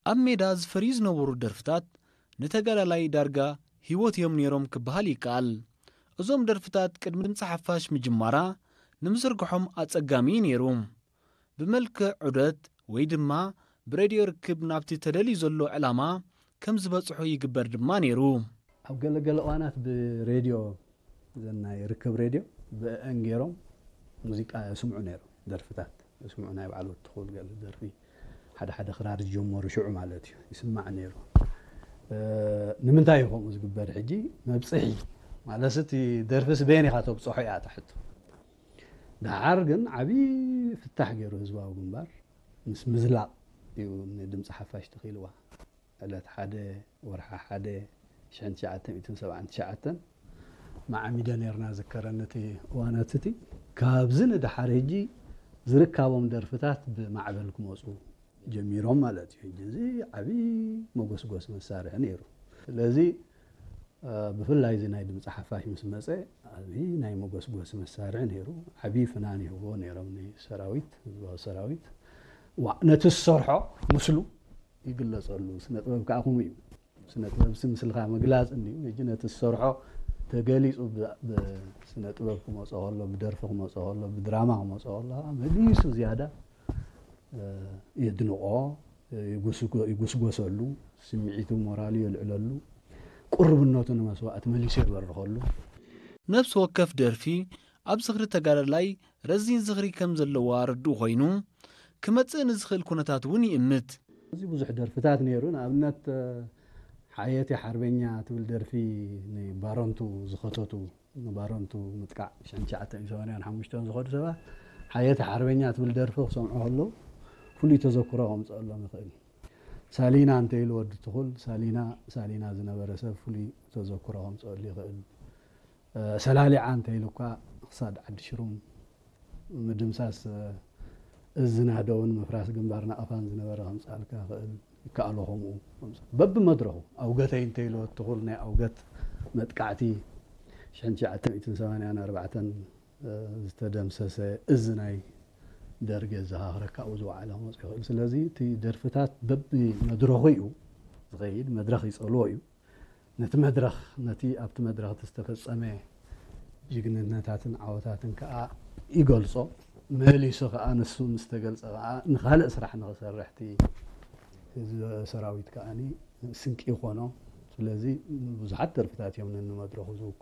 ኣብ ሜዳ ዝፈርዩ ዝነበሩ ደርፍታት ንተጋዳላይ ዳርጋ ህይወት እዮም ነይሮም ክበሃል ይከኣል። እዞም ደርፍታት ቅድሚ ድምፂ ሓፋሽ ምጅማራ ንምዝርግሖም ኣጸጋሚ እዩ ነይሩ። ብመልክዕ ዑደት ወይ ድማ ብሬድዮ ርክብ ናብቲ ተደልዩ ዘሎ ዕላማ ከም ዝበጽሑ ይግበር ድማ ነይሩ። ኣብ ገለገለ እዋናት ብሬድዮ፣ ዘናይ ርክብ ሬድዮ ብአን ገይሮም ሙዚቃ የስምዑ ነይሮም፣ ደርፍታት የስምዑ፣ ናይ በዓል ወዲ ትኹል ገለ ደርፊ፣ ሓደ ሓደ ክራር ዝጀመሩ ሽዑ ማለት እዩ፣ ይስማዕ ነይሩ። እ፣ ንምንታይ እዩ ከምኡ ዝግበር? ሕጂ መብፅሒ ማለት እቲ ደርፍስ በየን ኢኻ ተብፅሖ እያ እታ ሕቶ። ደሓር ግን ዓብዪ ፍታሕ ገይሩ ህዝባዊ ግንባር ምስ ምዝላቕ እዩ ንድምፂ ሓፋሽ ተኺልዋ። ዕለት ሓደ ወርሓ ሓደ ሽሕን ትሽዓተ ሚእትን ሰብዓን ትሽዓተን ማዓሚደ ነርና ዝከረኒ እቲ እዋናት እቲ። ካብዚ ንደሓር ሕጂ ዝርካቦም ደርፍታት ብማዕበል ክመፁ ጀሚሮም ማለት እዩ። ሕጂ እዚ ዓብዪ መጎስጎስ መሳርሒ ነይሩ። ስለዚ እ፣ ብፍላይ እዚ ናይ ድምፂ ሓፋሽ ምስ መፀ ዓብዪ ናይ መጎስጎሲ መሳርሒ ነይሩ። ዓብዪ ፍናን ይህቦ ነይሮም ንሰራዊት፣ ህዝባዊ ሰራዊት። ዋእ፣ ነቲ ዝሰርሖ ምስሉ ይግለፀሉ። ስነ ጥበብ ከዓ ከምኡ እዩ። ስነ ጥበብ ሲ ምስልኻ ምግላፅ እንድዩ። ሕጂ ነቲ ዝሰርሖ ተገሊፁ ብ-፣ ብስነ ጥበብ ክመፆ ከሎ፣ ብደርፊ ክመፆ ከሎ፣ ብድራማ ክመፆ ከሎ ከዓ መሊሱ ዝያዳ እ፣ የድንቖ፣ ይጉስጎ-፣ ይጉስጎሰሉ፣ ስምዒቱ ሞራሉ የልዕለሉ፣ ቅሩብነቱ ንመስዋእቲ መሊሱ የበርኸሉ። ነፍሲ ወከፍ ደርፊ ኣብ ዝኽሪ ተጋዳላይ ረዚን ዝኽሪ ከም ዘለዋ ርዱእ ኮይኑ፣ ክመጽእ ንዝኽእል ኩነታት እውን ይእምት። እዚ ብዙሕ ደርፍታት ነይሩ። ንኣብነት፣ ሓየት ሓርበኛ ትብል ደርፊ ንባረንቱ ዝኸተቱ፣ ንባረንቱ ምጥቃዕ ሽሕን ትሽዓተ ሚእትን ሰማንያን ሓሙሽተን ዝኸዱ ሰባት፣ ሓየት ሓርበኛ ትብል ደርፊ ክሰምዑ ከለዉ ፍሉይ ተዘክሮ ከምፅአሎም ይኽእል። ሳሊና እንተኢሉ ወዲ ትኹል፣ ሳሊና፣ ሳሊና ዝነበረ ሰብ ፍሉይ ተዘክሮ ከምፅአሉ ይኽእል። እ፣ ሰላሊዓ እንተኢሉ እኳ ክሳድ ዓዲ ሽሩም ምድምሳስ፣ እ፣ እዚ ናህደውን ምፍራስ ግንባር ናቕፋን ዝነበረ ከምፅኣልካ ይኽእል፣ ይከኣሎ ከምኡ። በብመድረኹ ኣውገተይ እንተኢሉ ወዲ ትኹል ናይ ኣውገት መጥቃዕቲ ሽሕን ትሽዓተ ሚእትን ሰማንያን ኣርባዕተን፣ እ፣ ዝተደምሰሰ እዚ ናይ ደርጊ የዘኻኽረካ ኣብኡ ዝወዓለ ክመፅእ ይኽእል። ስለዚ እቲ ደርፍታት በብመድረኹ እዩ ዝኸይድ፣ መድረኽ ይፀልዎ እዩ። ነቲ መድረኽ፣ ነቲ ኣብቲ መድረኽ እቲ ዝተፈጸመ ጅግንነታትን ዓወታትን ከኣ ይገልጾ። መሊሱ ከኣ ንሱ ምስ ተገልጸ ከኣ ንኻልእ ስራሕ ንኽሰርሕ እቲ ህዝቢ ሰራዊት ከኣኒ ስንቂ ይኾኖ። ስለዚ ብዙሓት ደርፍታት እዮም ነንመድረኹ ዝውክሉ።